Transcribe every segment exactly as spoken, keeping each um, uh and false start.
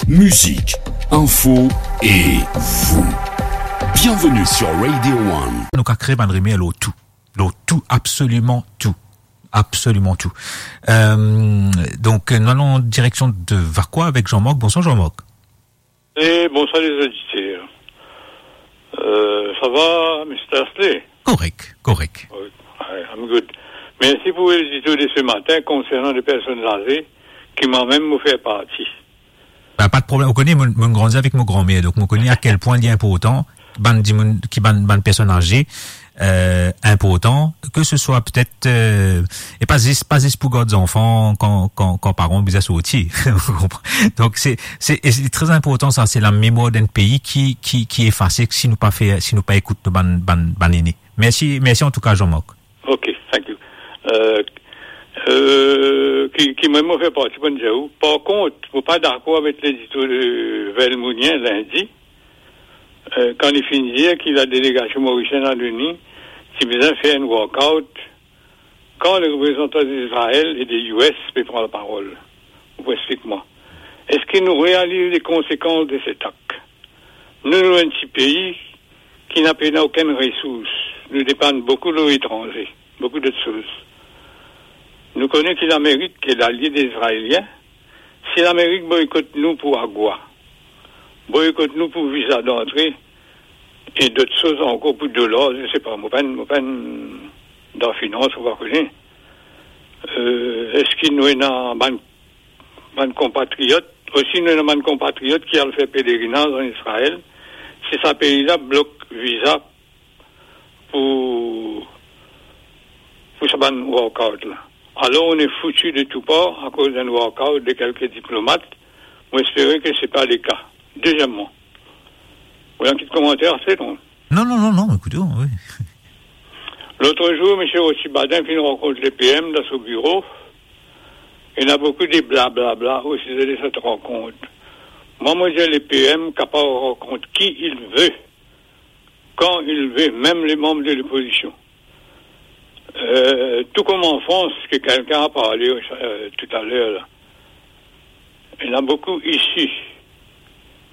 Musique, info et vous. Bienvenue sur Radio One. Nou ka kre bann rimer lor tou. Lor tou, absoliman tou. Absoliman tou. Euh, donk, nou al an direksion de Vacoas avek Jean-Marc. Bonsoir, Jean-Marc. Et bonsoir les auditeurs. Euh, ça va, mister Astley? Korek, korek. Oui, I am good. Merci pour l'édito de ce matin concernant les personnes âgées qui moi-même mo fer parti. Ba, pa de problem. Ou kone, mo, mo grandi avek mo granmer, donk mo kone a kel pwin li inportan, bann dimoun ki, bann, bann personn aze, euh, inportan, ke se swa petet, euh, e pa zis, pa zis pou gard zanfan kan, kan, kan paran bizin sorti. Ou konpran? Donk se, se, e se tre inportan sa, se lamemwar d'enn pei ki, ki, ki efase si nou pa fer, si nou pa ekout nou bann, bann, bann ene. Mersi, mersi antouka, Jean-Marc. Ok, thank you. Euh, euh, ki, ki mwa, mo fer parti bann dir ou. Par kont, mo pa dakor avek ledito de Vel Mounien lindi, euh, kan li finn dir ki ladelegasion morisienn a l'ONU ti bizin fer enn walkout, kan le reprezantan Izrael e de U S pe pran laparol. Ou pou explik mwa. Eski nou realiz le konsekans de set ak? Nou, nou enn ti pei ki na pena okenn resours. Nou depann boukou lor etranze, boukou dot soz. Nou kone ki Lamerik e lalie de Izraelien. Si Lamerik boykot nou pou agwa, boykot nou pou viza dantre e dot soz ankor, pou dolar, je sais pas, mo pa enn, mo pa enn dan finans, mo pa kone. Euh, eski nou ena bann, bann konpatriot, osi nou ena bann konpatriot ki al fer pelerinaz an Izrael, si sa pei la blok viza pou, pou sa bann walkout la. Alors, on est foutu de tout part akoz d'enn walkout de kelke diplomat. Mo espere ke se pa le ka. Deziem mwa, ou ena enn ti komanter, se non? Non, non, non, non, ekoute, wi. Lot zour, misie Rossy Baden finn rankont le P M dan so biro. Ena boukou de blablabla o size de set rankont. Mwa, mo dir, le P M kapav rankont ki il ve, kan il ve, mem le manb de lopozision. Euh, tou kom an Frans, ke kelkenn a parle, euh, toutaler la. Ena boukou isi.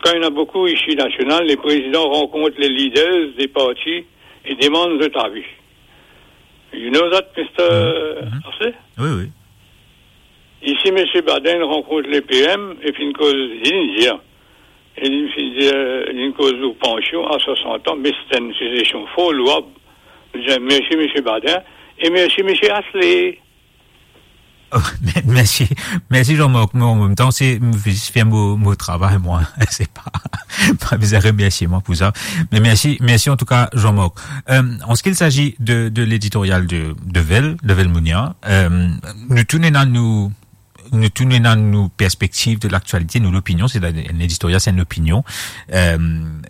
Kan ena boukou isi nasional, le prezidan rankont le leaders de parti e demann zot avi. You know that, mister Mhm. Astley? Wi, wi. Isi, misie Baden rankont le P M e finn koz, li dir, e li finn dir, li koz lor pansion a swasant an, me se enn sizesion for louab. Mo dir mersi, misie Baden, e mersi, misie Astley. Oh, me-, mersi, mersi Jean-Marc. Me an mem tan, se, mo zis fer mo, mo travay, mwa. Se pa, pa bizin remersie mwa pou sa. Me mersi, mersi antouka, Jean-Marc. Euh, en ce qu'il s'agit de, de l'éditorial de, de Vel, de Vel Mounien, euh, nou tou nou ena nou, nou tou nou ena nou perspektiv de laktialite, nou lopinion, se enn editorial, se enn opinion, euh,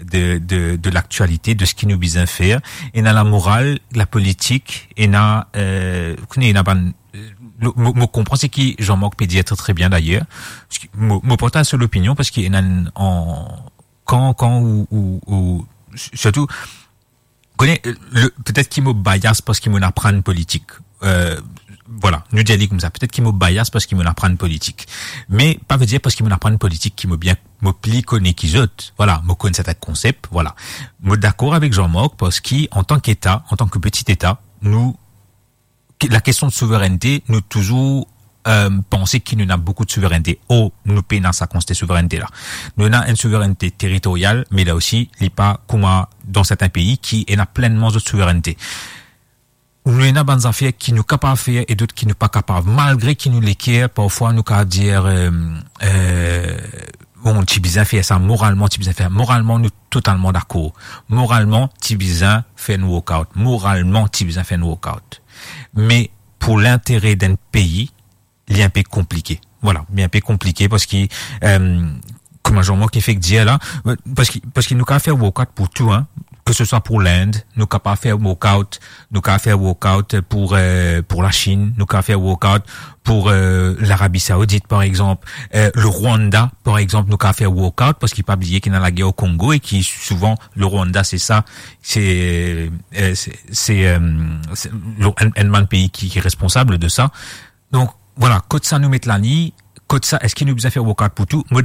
de, de, de laktialite, de seki nou bizin fer. Ena lamoral, lapolitik, ena, euh, ou kone, ena bann, euh, mo, mo, mo konpran seki Jean-Marc pe dir tre, tre bien dayer. Parski mo, mo partaz so lopinion parski ena enn, an, kan, kan ou, ou, ou, sirtou, kone, le, petet ki mo bias parski mo'nn aprann politik. Euh, vwala, nou dir li koumsa, petet ki mo bias parski mo'nn aprann politik. Me pa ve dir parski mo'nn aprann politik ki mo bien, mo pli kone ki zot. Vwala, mo konn sertin konsep, vwala. Mo dakor avek Jean-Marc parski, antan ki eta, antan ki peti eta, nou, ki, lakestion de souveraineté, nou touzour, euh, panse ki nou ena boukou de souveraineté. Or, nou pena sa kantite souveraineté la. Nou ena enn souveraineté teritorial, me la osi, li pa kouma dan sertin pei ki ena plennman zot souveraineté. Nou ena bann zafer ki nou kapav fer e dot ki nou pa kapav, malgre ki nou leker, parfwa nou kapav dir, euh, euh, bon, ti bizin fer sa, moralman, ti bizin fer. Moralman, nou totalman dakor. Moralman, ti bizin fer enn walkout. Moralman, ti bizin fer enn walkout. Me pou lintere d'enn pei, li inpe konplike. Vwala, li inpe konplike parski, euh, kouma Jean-Marc fek dir la, parski, parski nou kapav fer walkout pou tou, hein. Ke se swa pou Lind, nou kapav fer walkout, nou kapav fer walkout pou, euh, pou Lasinn, nou kapav fer walkout pou, euh, Larabi Saoudit, par exanp, euh, le Rwanda, par exanp, nou kapav fer walkout, parski pa bliye ki ena lager o Kongo e ki souvan, le Rwanda, se sa, se, euh, se, se, euh, se, le, enn, enn bann pei ki, ki responsab de sa. Donk, vwala, kot sa nou met lani, kot sa, eski nou bizin fer walkout pou tou? Mo